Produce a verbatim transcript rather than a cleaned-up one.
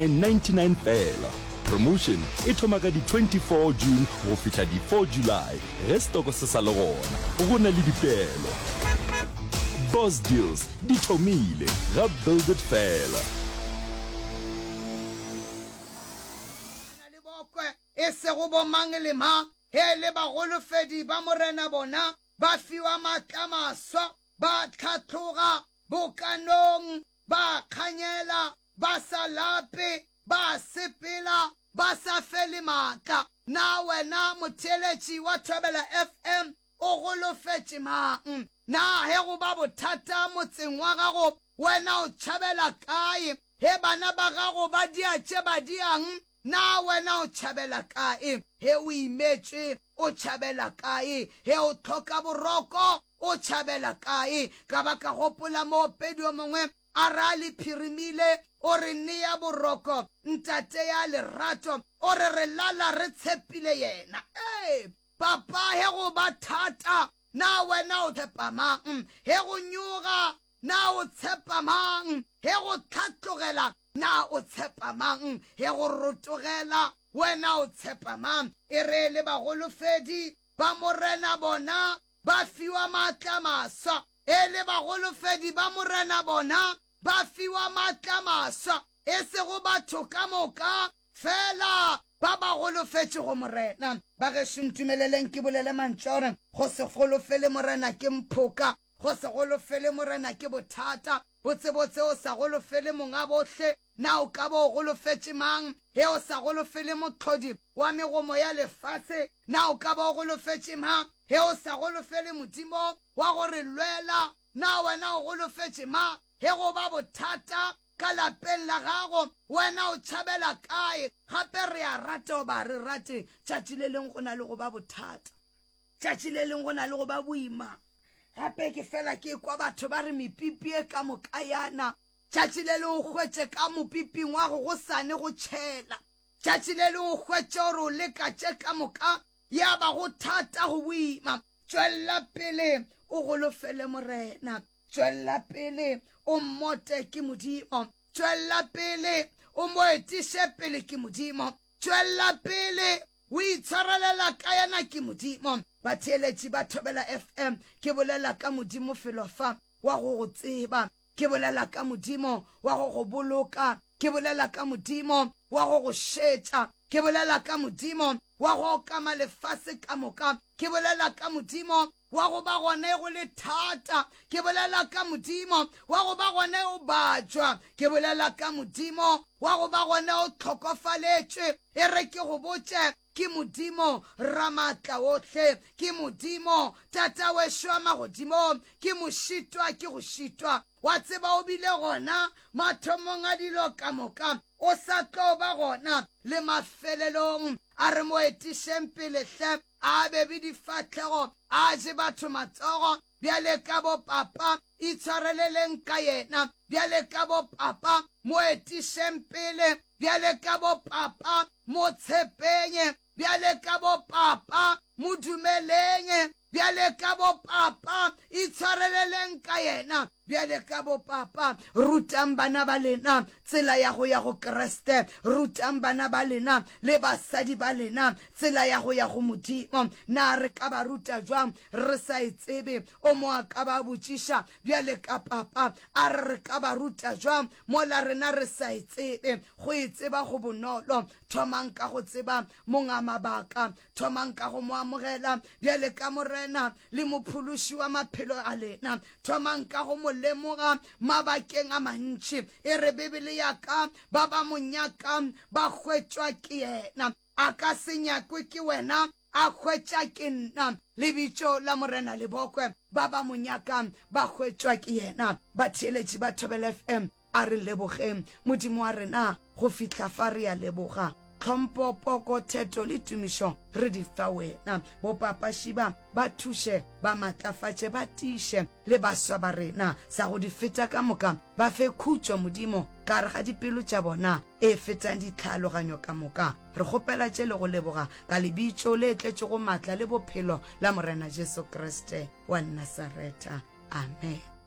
Ninety nine fela. Promotion e thoma ka di twenty four June go fihla di four July ge stoko se sa le gona. Go na le dipeelo. Boss Deals di thomile ga Build It fela. Na le bokwe, e sego bo mang le mang. Ge e le bagolofedi ba Morena bona ba fiwa maatla a maswa, ba hlatloga bokanong, ba kganyela, ba sa lape, ba sepela ba sa fele maatla. Na wena motheeletši wa Thobela F M o golofetše mang? Na ge go ba bothata motseng wa gago wena o tšhabela kae? Ge bana ba gago ba dia tše ba diang, na wena o tšhabela kae? Ge o imetšwe o tšhabela kae? Ge o hloka boroko o tšhabela kae? Ka ba ka gopola moopedi yo mongwe a re a le phirimile, o re nea boroko, Ntate ya lerato, o re re lala re tshepile yena. Ee, papa, ge go ba thata, na wena o tshepa mang? Ge go nyoga, na o tshepa mang? Ge go hlatlogela, na o tshepa mang? Ge go rotogela, wena o tshepa mang? E re le bagolofedi ba Morena bona ba fiwa maatla a maswa. E le bagolofedi ba Morena bona ba fiwa maatla a maswa, e sego batho ka moka, fela ba ba golofetšego Morena. Bagešo, ntumeleleng ke bolele mantšu a gore go se golofele Morena ke mphoka, go se golofele Morena ke bothata. Botsebotse o sa golofele Monga bohle, na o ka ba o golofetše mang? Ge o sa golofele Mohlodi wa megomo ya lefase, na o ka ba o golofetše mang? Ge o sa golofele Modimo wa go re lwela, na wena o golofetše mang? Ge go ba bothata ka lapeng la gago, wena o tšhabela kae? Gape re a rata goba ga re rate, tšatši le leng go na le go ba bothata. Tšatši le leng go na le go ba boima. Gape ke fela ke kwa batho ba re mepipi e ka moka yana. Tšatši le leng o hwetše ka mopiping wa go gosane go tšhela. Tšatši le leng o hwetše gore o leka tše ka moka ya ba go thata go boima. Tšwella pele o golofele Morena. Tšwella pele o mmote ke Modimo. Tšwella pele o mo etiše pele ke Modimo. Tšwella pele o itshwarelela ka yena ke Modimo. Batheeletši ba Thobela F M, ke bolela ka Modimo felo fa wa go go tseba. Ke bolela ka Modimo wa go go boloka. Ke bolela ka Modimo wa go go šetša. Ke bolela ka Modimo wa go okama lefase ka moka. Ke bolela ka Modimo wa go ba gona go le thata. Ke bolela ka Modimo wa go ba gona o bajwa. Ke bolela ka Modimo wa go ba gona o hlokofaletšwe. E re ke go botše, ke Modimo Ramaatlaohle, ke Modimo Tatawešo wa magodimong, ke mošitwa ke go šitwa. Wa tseba o bile gona mathomong a dilo ka moka, o sa tlo ba gona le mafelelong. A re mo etišeng pele hle, a bebe difahlego, a je batho matsogo, bjale ka bo papa, itshwareleleng ka yena, bjale ka bo papa, mo etišeng pele, bjale ka bo papa, mo tshepeng, bjale ka bo papa, mo dumeleng, bjale ka bo papa, itshwareleleng ka yena, bjale ka bo papa. Rutang bana ba lena tsela ya go ya go Kriste. Rutang bana ba lena le basadi ba lena tsela ya go ya go Modimo. Na re ka ba ruta jwang re sa e tsebe? O mo a ka ba botšiša bjale ka papa, a re re ka ba ruta jwang mola rena re sa e tsebe? Go e tseba go bonolo. Thomang ka go tseba Monga mabaka. Thomang ka go mo amogela bjale ka Morena le Mophološi wa maphelo a lena. Thomang ka go mo lemoga mabakeng a mantši. E re Bibele ya ka, ba ba mo nyakang ba hwetšwa ke yena. A ka se nyakwe ke wena, a hwetša ke nna. Lebitso la Morena le bokwe, ba ba mo nyakang ba hwetšwa ke yena. Batheeletši ba Thobela F M, a re lebogeng Modimo wa rena go fihla fa. Re a leboga. Tlhompho, poko, theto le tumišo re di fa wena. Bopapaši ba ba thuše, ba matlafatše, ba tiiše le baswa ba rena. Sa go di feta ka moka, ba fe khutšo Modimo ka gare ga dipelo tša bona e fetang ditlhaaloganyo ka moka. Re kgopela tše le go leboga ka lebitso le tletšego maatla le bophelo la Morena Jesu Kriste wa Nasaretha. Amen.